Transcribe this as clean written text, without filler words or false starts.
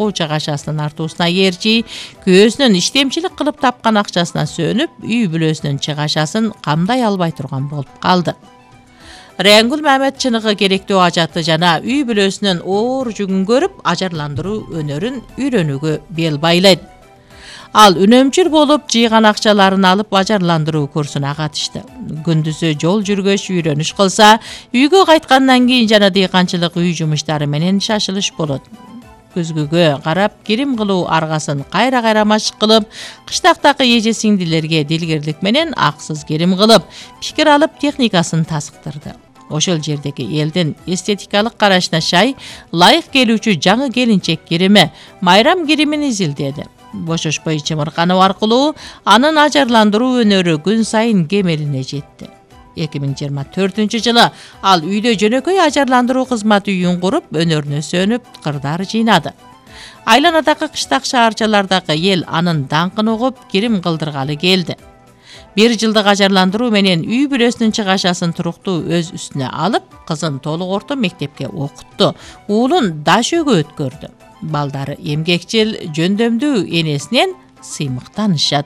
окуу чыгашасынын артуусуна ээрчи, күйөөсүнүн иштемчилик кылып тапкан акчасына сөнүп, үй бүлөсүнүн чыгашасын камдай албай турган болуп калды. Райангүл Мамед чыныгы керектүү ажаты жана үй бүлөсүнүн оор жүгүн көрүп, ажарландыруу өнөрүн үйрөнүүгө бел байлайт. Ал үнөмчүл болуп, жыйган акчаларын алып ажарландыруу курсуна катышты. Күндүзү жол жүргөч үйрөнүш кылса, үйгө кайткандан кийин жана дыйканчылык үй жумуштары менен шашылыш болот. Күзгүгө карап, кирим кылуу аргасын кайра машык кылып, кыштактагы эже сиңдилерге дилгирлик менен аксыз кирим кылып, пикир алып техникасын тасыктырды. Ошол жердеги элдин эстетикалык карашына шай, лайык келүүчү жаңы келинчек кирими, майрам киримин изилдеди. Бошошпой чымыркануу аркылуу анын ажарландыруу өнөрү күн сайын кемелине жетти. 2024-жылы ал үйдө жөнөкөй ажарландыруу кызмат үйүн куруп, өнөрүнө сөнүп, кырдар жыйнады. Айланадагы кыштак шаарчалардагы эл анын даңкын угуп, кирим кылдыргалы келди. 1 жылдык ажарландыруу менен үй бүлөсүнүн чыгашасын туруктуу өз үстүнө алып, кызын толук орто мектепке окутту, уулун даш өйгө өткөрдү. Балдары эмгекчил, жөндөмдүү энесинен сыймыктанышат.